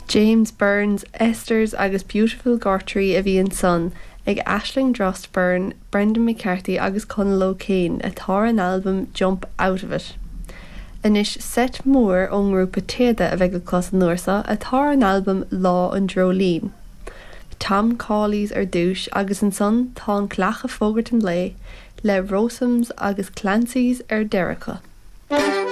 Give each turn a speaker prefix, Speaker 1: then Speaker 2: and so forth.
Speaker 1: James Burns, Esther's agus Beautiful Gortree a bhí ansan ag Aisling Drost Byrne, Brendan McCarthy agus Conal O'Kane atá ar an albam Jump Out of It. Anois seit mór ón ngrúpa Téada a bheidh le clos an uair seo atá ar an albam Lá an Dreoilín. Tom Cawley's ar dtús agus ansan tá an Cleach ag fógairt an lae le Rowsomes agus Clancy's ar deireadh acu.